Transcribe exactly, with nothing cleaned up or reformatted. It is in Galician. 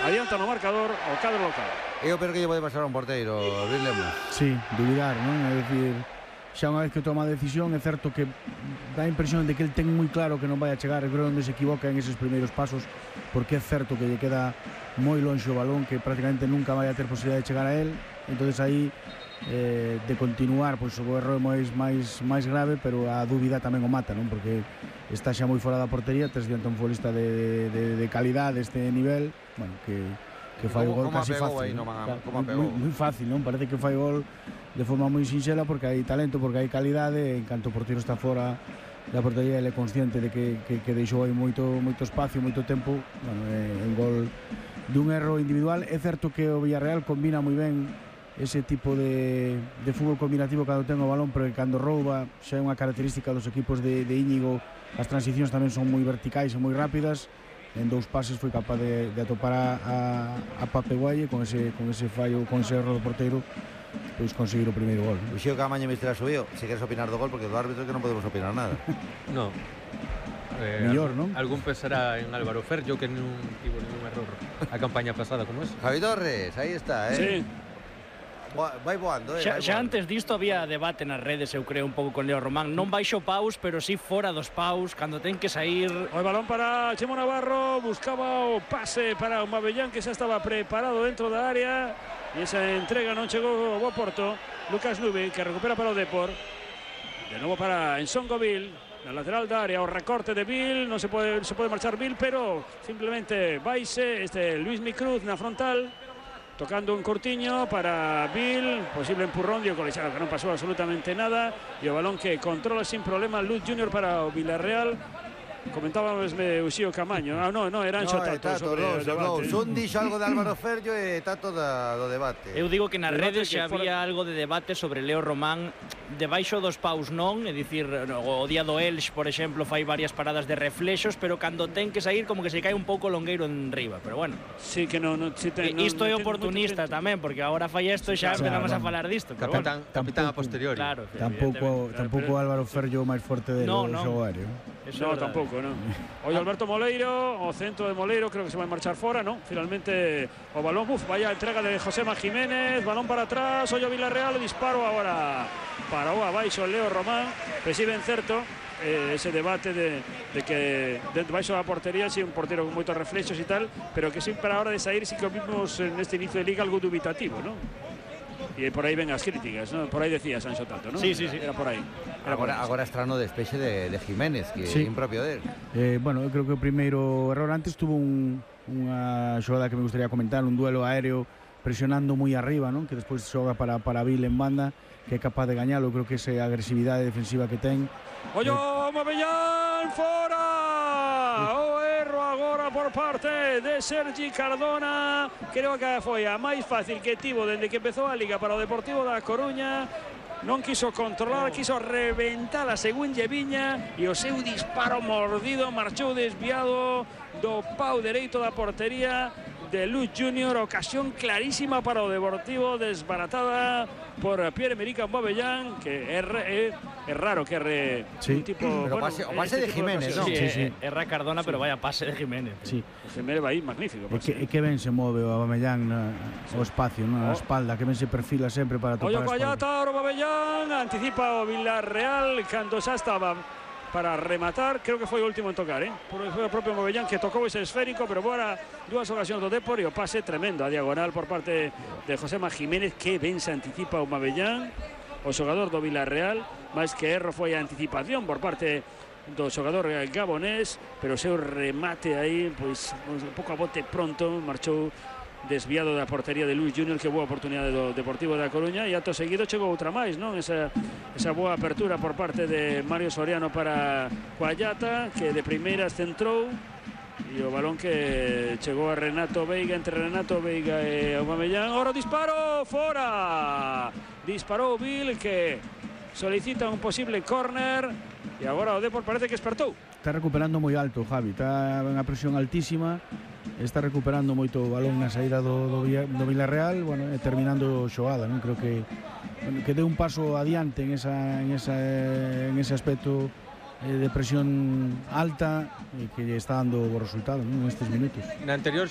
adianta no marcador o cadro local. Eu creo que lle pode pasar a un porteiro, Luis Lemos. Sí, dubidar, non? É dicir, xa unha vez que toma a decisión, é certo que dá a impresión de que el ten moi claro que non vai a chegar, creo onde se equivoca en eses primeiros pasos, porque é certo que lle queda moi longe o balón, que prácticamente nunca vai a ter posibilidade de chegar a él. Entonces aí eh, de continuar, pois o erro é máis, máis, máis grave, pero a dúbida tamén o mata, non? Porque está xa moi fora da portería, tes diante un futbolista de, de, de calidad deste nivel, bueno, que, que fai o gol casi fácil, ¿no? Claro, Como moi, moi fácil, non? Parece que fai gol de forma moi sinxela porque hai talento, porque hai calidade, en canto o porteiro está fora da portería, ele é consciente de que, que, que deixou aí moito, moito espacio, moito tempo, bueno, é un gol dun erro individual. É certo que o Villarreal combina moi ben ese tipo de, de fútbol combinativo cando ten o balón, pero que cando rouba xa é unha característica dos equipos de, de Íñigo. As transicións tamén son moi verticais e moi rápidas. En dous pases foi capaz de, de atopar a, a, a Pape Guaye con ese, con ese fallo, con ese erro do porteiro, pois conseguir o primeiro gol. O Xeo Camaño me estará subido, se queres opinar do gol, porque do árbitro que non podemos opinar nada. No. Eh, Millor, non? Algún pensará en Álvaro Ferllo que non tivo ningún error a campaña pasada como esa. Javi Torres, aí está, eh. Sí. Vai voando, eh. Xa, vai xa voando. antes disto había debate nas redes, eu creo, un pouco con Leo Román. Non baixo paus, pero sí fora dos paus, cando ten que sair. O balón para Chemo Navarro, buscaba o pase para o Mabellán, que xa estaba preparado dentro da área, e esa entrega non chegou ao Porto. Lucas Nube, que recupera para o Depor, de novo para Ensongo Vil, na lateral da área, o recorte de Vil, non se pode, se pode marchar Vil, pero simplemente vaise este Luis Micruz na frontal, tocando un Cortiño para Vil, posible empurrón, dio colechado que non pasou absolutamente nada, e o balón que controla sin problema Luz Junior para o Villarreal. Comentábamos de Uxío Camaño. Ah, no, no, era Anxo No, Tato Tato, sobre no, o debate. no, un dixo algo de Álvaro Ferllo e Tato da, do debate. Eu digo que nas Debate redes que xa fora- había algo de debate sobre Leo Román debaixo dos paus non, é dicir, o día do Elx, por exemplo, fai varias paradas de reflexos, pero cando ten que sair como que se cae un pouco longueiro en riba, pero bueno. Sí, que non, non, si te, E non, isto non é ten oportunista moito tamén, porque agora fai isto e xa claro, empezamos claro. a falar disto, pero bueno. Capitán, capitán a posteriori. Claro, Tampouco, evidentemente. tampouco Álvaro Ferllo máis forte de No, no, no. xogo aéreo. Eso No, é verdade. tampouco, no. Hoy Alberto Moleiro, o centro de Moleiro, creo que se va a marchar fora, ¿no? Finalmente o balón, uf, vaya entrega de Josema Jiménez, balón para atrás, Hoyo Villarreal, disparo agora para o abaixo Leo Román, recibe en certo eh, ese debate de, de que dentro baixo da portería, si sí, un portero con moitos reflexos e tal, pero que sempre a hora de sair sí que vimos en este inicio de liga algo dubitativo, ¿no? Y por aí ven as críticas, ¿no? Por aí decía Sancho Tato, ¿no? Sí, sí, sí. Era por aí. Era por Agora, aí. agora estrano despexe de, de Jiménez, que Sí. é impropio del. Eh, bueno, eu creo que o primeiro error antes tuvo un, unha xogada que me gustaría comentar, un duelo aéreo presionando moi arriba, non? Que despois xoga para, para Vil en banda, que é capaz de gañalo. Eu creo que esa agresividade defensiva que ten. Ollo Mabellán, fora! O erro agora por parte de Sergi Cardona. Creo que foi a máis fácil que tivo dende que empezou a Liga para o Deportivo da Coruña. Non quiso controlar, quiso reventar a según lle viña, e o seu disparo mordido marchou desviado do pau dereito da portería de Luz Junior. Ocasión clarísima para o Deportivo, desbaratada por Pierre-Emerick Aubameyang, que é, é, é raro que erre Sí. un tipo... Pero pase- o pase de tipo Jiménez, ocasiones. ¿no? Sí, Sí, sí. eh, erra Cardona, pero vaya pase de Jiménez. Sí. Jiménez va aí, magnífico. E que, e que ben se move o Aubameyang na, o espacio, na Oh. espalda, que ben se perfila sempre para topar Ollo a espalda. Collata, Aubameyang, anticipa o Villarreal cando xa estaba para rematar, creo que foi o último en tocar, eh? Foi o propio Aubameyang que tocou ese esférico, pero agora dúas ocasións do Depor e o pase tremendo a diagonal por parte de Josema Jiménez, que ben se anticipa o Aubameyang, o xogador do Villarreal, máis que erro foi a anticipación por parte do xogador gabonés, pero o seu remate aí, pois un pouco a bote pronto, marchou desviado da portería de Luis Junior, que boa oportunidade do Deportivo da Coruña, e acto seguido chegou outra máis, non? Esa, esa boa apertura por parte de Mario Soriano para Coallata, que de primeiras centrou, e o balón que chegou a Renato Veiga, entre Renato Veiga e Aubameyang. Ahora o disparo, fora! Disparou Vil, que solicita un posible córner, e agora o Depor parece que espertou. Está recuperando moi alto, Javi, está en a presión altísima, está recuperando moito o balón na saída do, do, Villa, do Villarreal, bueno, e terminando xogada, non? Creo que bueno, que deu un paso adiante en esa en esa en ese aspecto eh, de presión alta e que lle está dando o resultado, non? Nestes minutos. Na anterior